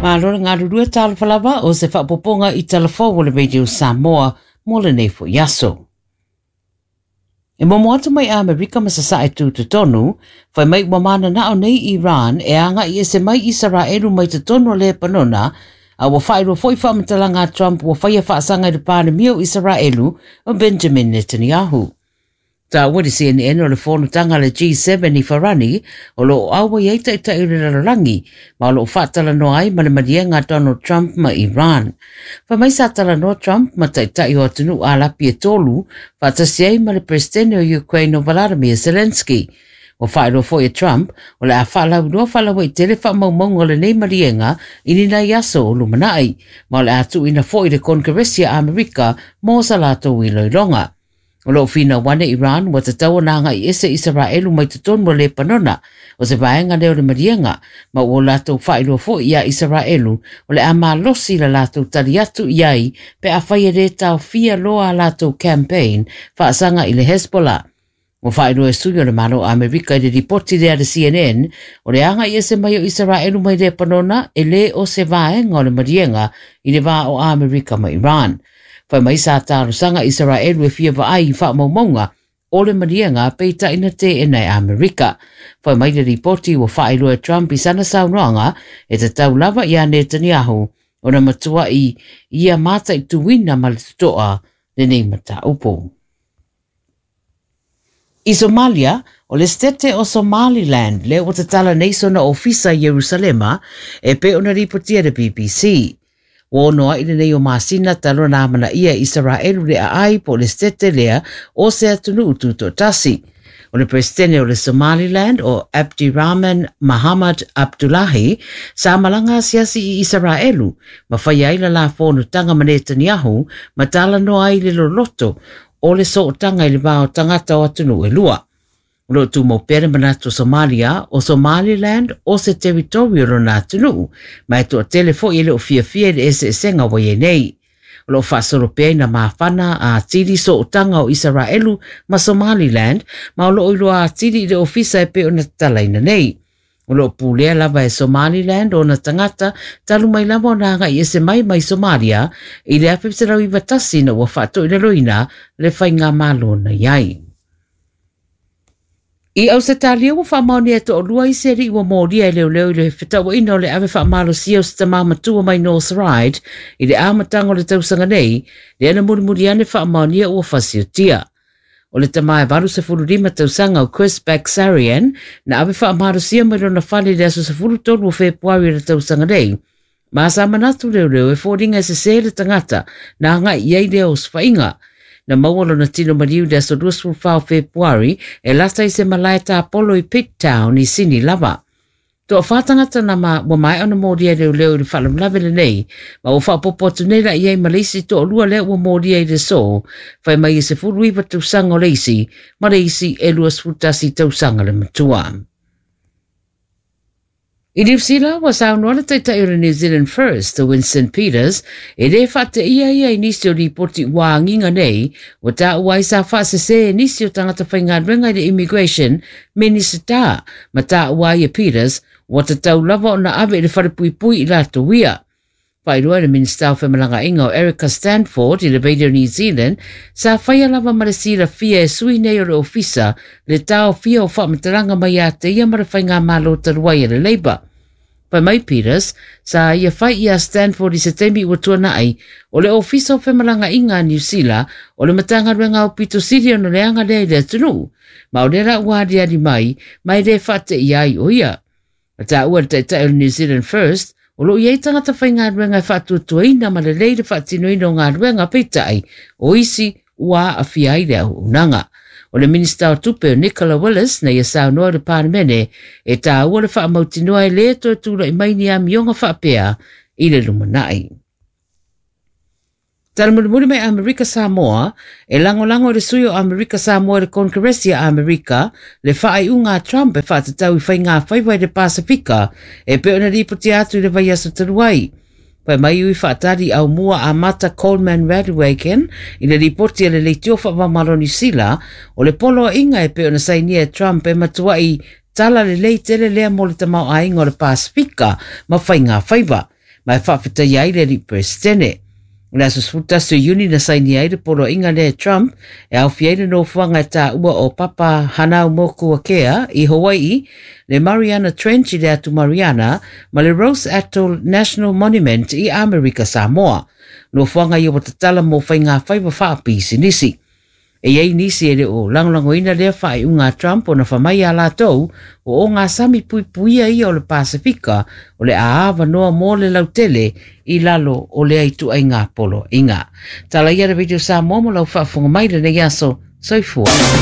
Malo le galulue talofa lava o se faaopoopoga i tala fou o le Radio Samoa mo lenei foi aso. E momo atu mai Amerika ma Sasae Tutotonu, fai mai ua mananao nei Iran e agai ese mai Isaraelu mai totonu o Lepanona, a ua faailoa foi faamatalaga a Trump ua faia faasaga i le Palemia o Isaraelu o Benjamin Netanyahu. Taua le CNN o le fonotaga a le G7 i Farani o lo o auai ai taitai o le lalolagi ma o lo o faatalanoa ai ma le maliega a Donald Trump ma Iran. Fai mai sa talanoa Trump ma taitai o atunuu Alapi e tolu faatasi ai ma le Peresetene o Ukraine o Volodymyr Zelensky. Ua faailoa foi e Trump o le a faalauiloa faalauaitele faamaumauga o lenei maliega i ni nai aso o lumanai, ma o le a tuuina foi i le Konekeresi a Amerika mo sa latou iloiloga. O lo o finau ane Iran ua tatau ona agai ese Isaraelu mai totonu o Lepanona, o se vaega lea o le maliega, ma ua latou faailoa foi iā Isaraelu o le a malosi la latou tali atu i ai pe afai e lē taofia loa a latou campaign faasaga i le Hezbollah. Ua faailoa e sui o le Malo o Amerika i le lipoti lea a le CNN, o le agai ese mai o Isaraelu mai Lepanona e lē o se vaega o le maliega i le va o Amerika ma Iran. Fai mai sa talosaga Isaraelu e fia vaai i faamaumauga o le maliega peitai na teena e Amerika. Fai mai le lipoti ua faailoa e Trump i sana saunoaga e tatau lava iā Netanyahu ona matuai ia mataituina ma le totoa lenei mataupu. I Somalia, o le Setete o Somaliland lea ua tatala nei sona ofisa i Ierusalema e pei ona lipotia e le BBC. Ua ono ai lenei o masina talu ona amanaia e Isaraelu le aai po o le Setete lea o se atunuu tutoatasi. O le Peresetene o le Somaliland o Abdirahman Mahamad Abdullahi sa malaga asiasi i Isaraelu ma faia ai la la fonotaga ma Netanyahu ma talanoa ai le loloto o le sootaga i le va o tagata o atunuu e lua. O lo o tumau pea le manatu o Somalia, o Somaliland o se territory o lona atunuu, ma e toatele foi e le o fiafia i le eseesega ua i ai nei. O lo o faasolo pea ina mafana atili sootaga o Isaraelu ma Somaliland, ma o lo o iloa atili i le ofisa e pei ona tatalaina nei. O lo o pulea lava e Somaliland ona tagata talu mai lava ona agai ese mai mai Somalia i le 1991 ina ua faatoilaloina le faigamalo na i ai. I Ausetalia ua faamaonia e toalua isi alii ua molia e leoleo i le fetauaiga o le ave faamalosia o se tama matua mai North Ryde i le amataga o le tausaga nei, lea na mulimuli ane faamaonia ua fasiotia. O le tama e 85 tausaga o Chris Bagsarian na ave faamalosia mai lona fale i le aso 13 o Fepuari o le tausaga nei. Ma sa manatu leoleo e foliga e sesē le tagata na agai i ai lea osofaiga. Na maua lona tino maliu i le aso 24 o Fepuari e lata i se malae tapolo i Pitt Town i Sini lava. Toawhā tangata na ma, ua maea ona molia e leoleo i le faalavelave lenei, ma ua faaopoopo atu nei la i ai ma le isi toalua lea ua molia i le aso, fai mai e 19 tausaga o le isi, ma le isi e 21 tausaga le matua. I Niu Sila, ua saunoa le taitai o le New Zealand First, Winston Peters, e lē faateia ia i nisi o lipoti ua agiga nei, ua taua ai sa faasesē e nisi o tagata faigaluega i le Immigration Minisita, ma taua ai e Peters, ua tatau lava ona ave i le falepuipui i latou ia. Faailoa e le Minisita o Femalagaaiga o Erica Stanford i le Radio New Zealand, sa faia lava ma le silafia e sui nei o le ofisa le taofia o faamatalaga mai ia te ia ma le faigamalo talu ai a le Labour. Fai mai Peters, sa ia fai iā Stanford i se taimi ua tuanai, o le Ofisa o Femalagaaiga a Niu Sila, o le Matagaluega aupito sili ona leaga lea i le atunuu, ma o lea la ua aliali mai, ma e le faateia ai o ia. Na taua e le taitai o le New Zealand First, o lo o i ai tagata faigaluega e faatuatuaina ma lelei le faatinoina o galuega, peitai, o isi ua aafia ai le auaunaga. O le Minisita o Tupe o Nicola Willis na ia saunoa i le Palemene e tāua le faamautinoa e lē toe tulai mai ni amioga faapea i le lumanai. Tala mulimuli mai Amerika Samoa, e lagolago e le sui o Amerika Samoa i le Konekeresi a Amerika le faaiuga a Trump e faatatau i faigāfaiva i le Pasefika e pei ona lipotia atu i le vaiaso talu ai. Fai mai ui faatali aumua a Mata Coleman Radwagen i le lipoti a le Leitio Faavaomalo Niu Sila, o le poloaiga e pei ona sainia e Trump e matuai tala lelei tele lea mo le tamaoaiga o le Pasefika ma faigāfaiva. Ma e faafetaia ai le alii Peresetene. O le aso 11 o Iuni na sainia ai le poloaiga lea e Trump e aofia ai le nofoaga e taua o Papahanaumokuakea i Hawaii, le Mariana Trench i le atu Mariana, ma le Rose Atoll National Monument i Amerika Samoa. Nofoaga ia ua tatala mo faigafaiva faapisinisi. E i ai nisi e le o lagolagoina lea faaiuga a Trump ona fai mai a latou o ogasami puipuia ia o le Pasefika o le a avanoa mo le lautele i lalo o lea ituaiga poloaiga. Tala ia le Radio Samoa mo lau faafofoga mai lenei aso. Soifua.